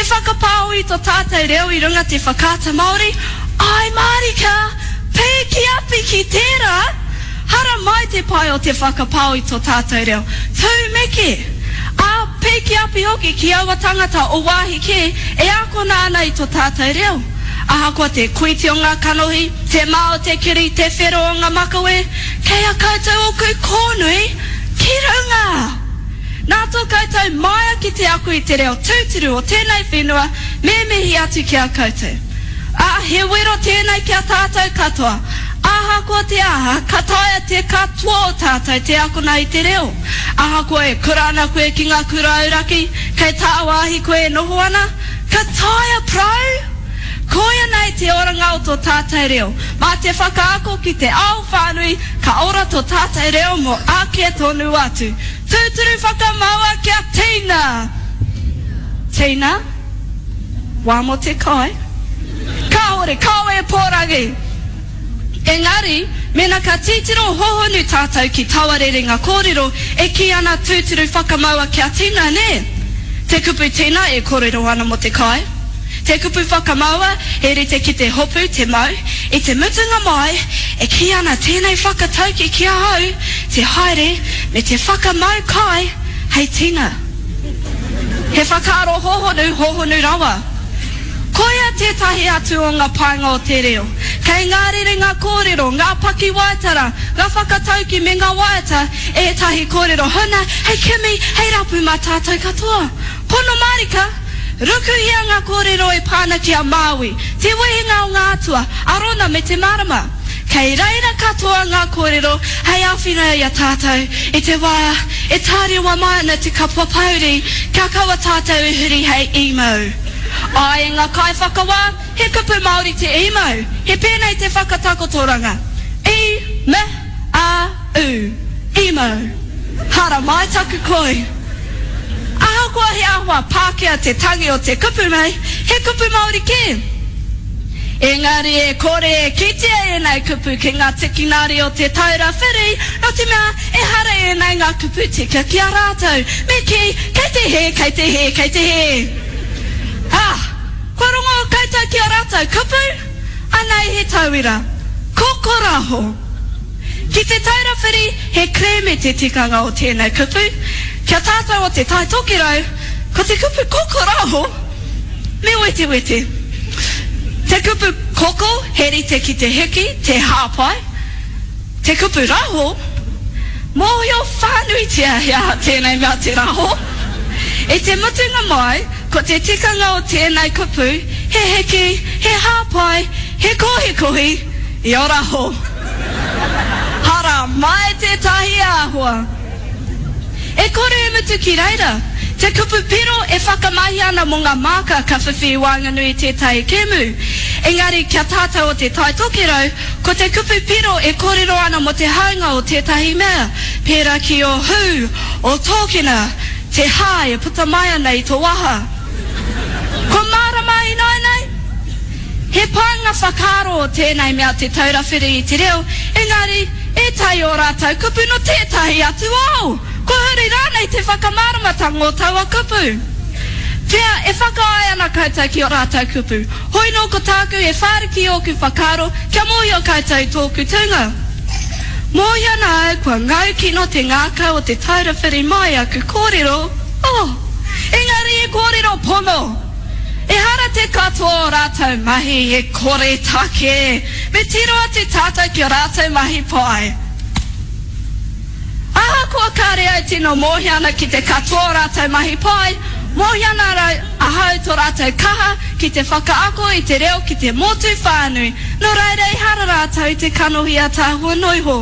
whakapāho i to tātou reo i runga te Whakaata Māori, āe mārika! Pīki api ki tērā! Hara mai te pai o te whakapāho i to tātou reo. Tūmeke! Ā, pīki api hoki ki aua tangata o wāhi kē e ākona ana i to tātou reo. Ahakoa te kuiti o ngā kanohi, te mā o te kiri, te whero o ngā makawe, kei a koutou ōku kōnui ki runga! Nā tō koutou māia ki te ako i te reo tūturu o tēnei whenua, me mihi atu ki a koutou. Ā, he wero tēnei ki a tātou katoa. Ahakoa te aha, ka taea te katoa o tātou te akona i te reo. Ahakoa e kura ana koe ki ngā kura auraki, kei tāwāhi koe e noho ana, ka taea prau! Koia nei te oranga o tō tātou reo. Mā te whakaako ki te ao whānui, ka ora tō tātou reo mō ake tonu atu. Tūturu whakamaua kia tina! Tina? Wā mō te kai? Kāore, kāore e pōrangi! Engari, mēnā ka titiro hohonu tātou ki taua rerenga kōrero e kī ana tūturu whakamaua kia tina, nē? Te kupu tina e kōrero ana mō te kai. Te kupu whakamaua he rite ki te hopu, te mau. I te mutunga mai, e kī ana tēnei whakatauki ki ahau, te haere me te whakamau kai hei tina. He whakaaro hōhonu, hōhonu rawa. Koia tētahi atu o ngā painga o te reo. Kei ngā rerenga kōrero, ngā pakiwaitara, ngā whakatauki me ngā waiata ētahi kōrero huna hei kimi, hei rapu mā tātou katoa. Pono mārika, rukuhia ngā kōrero e pā ana ki a Māui, te wehenga o ngā atua, a Rona me te marama. Kei reira katoa ngā kōrero hei āwhina i a tātou i te wā e tārewa mai ana te kapua pōuri kia kaua tātou e huri hei emo. Āe e ngā kaiwhakawā, he kupu Māori te emo, he pēnei te whakatakotoranga, i, m, a, u, emo. Haramai taku koi. Ahakoa he āhua Pākehā te tangi o te kupu nei, he kupu Māori kē. Engari e kore e kitea ēnei kupu ki ngā tikinari o Te Taura Whiri, nō te mea ehara ēnei ngā kupu tika ki a rātou. Me kī, kei te hē, kei te hē, kei te hē. Ah! Kua rongo koutou ki ā rātou kupu? Anei he tauira. Kokoraho. Ki Te Taura Whiri, he kerēme te tikanga o tēnei kupu. Ki a tātou o Te Tai Tokerau, ko te kupu kokoraho, Me wetewete. Te kupu koko he rite ki te hiki, te hāpai. Te kupu raho, mōhio whānuitia he aha tēnei mea te raho. I te mutunga mai, ko te tikanga o tēnei kupu, he hiki, he hāpai, he kohikohi i o raho. Hara mai tētahi āhua. E kore e mutu ki reira. Te kupu piro e whakamahia ana mō ngā māka ka whiwhi i waenganui i tētahi kēmu. Engari kia tātou o Te Tai Tokerau, ko te kupu piro e kōrero ana mō te haunga o tētahi mea, pērā ki ō hū, ō tōkena, te hā e puta mai ana i tō waha. Kua mārama ināianei? He painga whakaaro o tēnei mea te taura whiri i te reo, engari, ētahi o rātou kupu nō tētahi atu ao! Kua huri rānei te whakamāramatanga o taua kupu? Pea, e whakaae ana koutou ki ō rātou kupu. Hoi nō ko tāku he whāriki i ōku whakaaro kia mōhio koutou i tōku tūnga. Mōhio ana au kua ngau kino te ngākau o te taura whiri mai aku kōrero, oh! Engari he kōrero pono! Ehara te katoa o rātou mahi he koretake, me tiro atu tātou ki a rātou mahi pai. Ahakoa kāre au tino mōhio ana ki te katoa o rātou mahi pai, mōhio ana ahau tō rātou kaha ki te whakaako i te reo ki te motu whānui, nō reira ehara rātou i te kanohi ataahua noiho.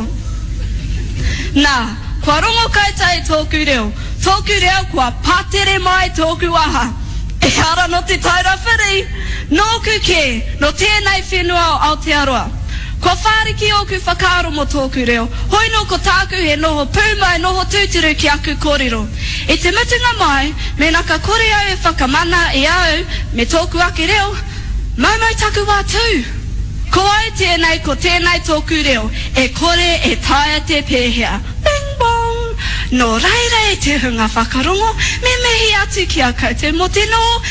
Nā, kua rongo koutou i tōku reo, tōku reo kua patere mai tōku waha. Ehara nō Te Taura Whiri, nōku kē, nō tēnei whenua o Aotearoa. Kua whāriki ōku whakaaro mō tōku reo, hoi nō ko tāku he noho pūmau noho tūturu ki aku kōrero. I te mutunga mai, mēnā ka kore au e whakamana i a au me tōku ake reo, maumau taku wā tū! Ko au tēnei, ko tēnei tōku reo, e kore e taea te pēhea. Bing bong! Nō reira e te hunga whakarongo, me mihi atu ki a koutou mō te noho me.